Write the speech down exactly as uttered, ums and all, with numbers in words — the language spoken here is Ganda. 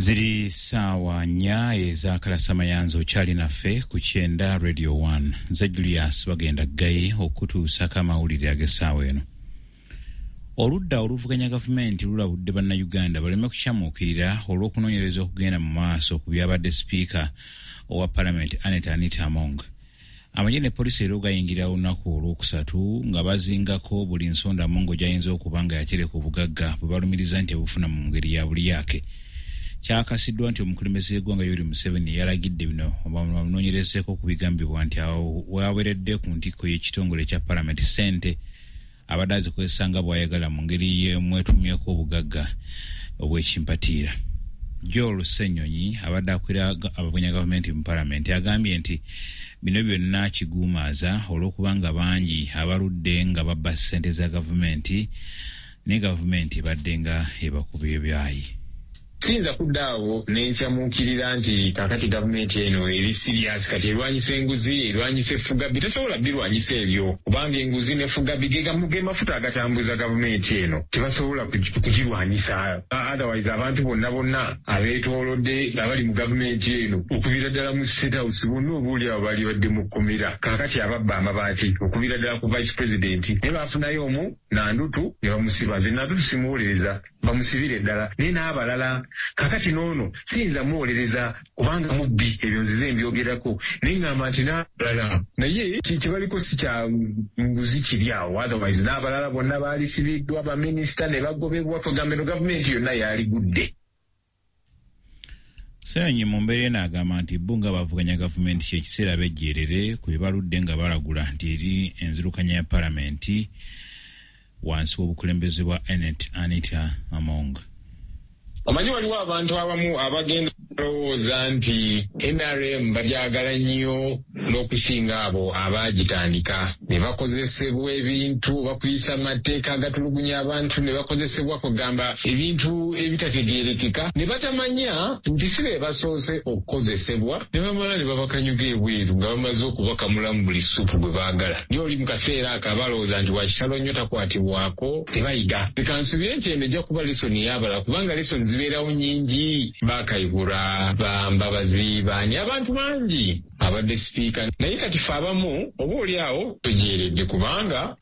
Ziri saawa nnya ez'akalasamayanzi, okyali naffe ku Kyenda Radio one. Nze Julius Bagenda Ggayi okutuusako amawulire ag'essaawa eno. Oludda oluvuganya gavumenti lulabudde Bannayuganda baleme kukyamuukirira olw'okunoonyereza okugenda mu maaso ku byabadde sipiika owa palamenti Anet Anita Among. Amagye ne poliisi era gayingira olunaku olwokusatu nga bazingako buli nsonda Among gy'ayinza okuba nga yatereka obugagga bwe balumiriza nti abufuna mu ngeri ya bulyake. Kyakasiddwa nti omukulembeze w'eggwanga Yoweri Museveni yalagidde bino bamunoonyerezeeko ku bigambibwa nti awo waweredde ku ntikko y'ekitongole ekya palamenti ssente abadde azikozesa nga bw'ayagala mu ngeri y'emwetumyeko obugagga obw'ekimpatiira. Joel Ssenyonyi abadde akulira abavuganya gavumenti mu palamenti agambye nti bino byonna kiguumaaza olw'okubanga bangi abaludde nga babba ssente za gavumenti, naye gavumenti ebadde nga ebakuba ebyayi. Siyinza kudda awo nenkyamuukirira nti kakati gavumenti eno eri serious, kati erwanyisa enguzi, erwanyisa effugabbi. Tesobola birwanyisa ebyo, kubanga enguzi n'effugabbi ge mafuta agatambuza gavumenti eno. Tebasobola kugirwanyisa. Otherwise abantu bonna bonna abeetoolodde abali mu gavumenti eno, okuviira ddala mu State House, bonna obaoli abo bali badde mu kkomera. Kaakati ababba amabaati okuviira ddala ku vice president, naye baafunayo omu Nandutu ne bamusiba. Nze Nandutu simuwolereza, bamusibire ddala, naye n'abalala. Kakati n'ono siyinza muwolereza kubanga mubbi, ebyo nzize mbyogerako, naye ŋŋamba nti n'abalala, naye kyebaliko si kya nguzi kiri awo. Otherwise n'abalala bonna baalisibiddwa, baminisita ne bagobebwa, kwegamba eno gavumenti yonna yaligudde. Ssenyonyi mu mbeera eno agamba nti bo nga bavuganya gavumenti kyekiseera bejjeerere ku bye baludde nga balagula nti eri enzirukanya ya palamenti wansi w'obukulembeze bwa Anet Anita Among. Omanyi waliwo abantu abamu abagenda balowooza nti N R M bagyagala nnyo n'okusinga abo abaagitandika, ne bakozesebwa ebintu bakuyisa amateeka agatulugunya abantu, ne bakozesebwa kugamba ebintu ebitategeerekeka, ne batamanya nti si be basoose okukozesebwa, ne bamala ne babakanyuga ebweru nga bamaze okubakamulamu buli supu gwe baagala. Naye oli mu kaseera ako abalowooza nti wakitalo nnyo takwatibwako, tebayiga. Leka nsubire nti eno ejja kuba lesson ey'abalala, kubanga lesson zibeerawo nnyingi. Bakayihura, Bambabazi, baani, abantu bangi abadde sipiika, naye kati fe abamu oba oli awo tojeeredde kubanga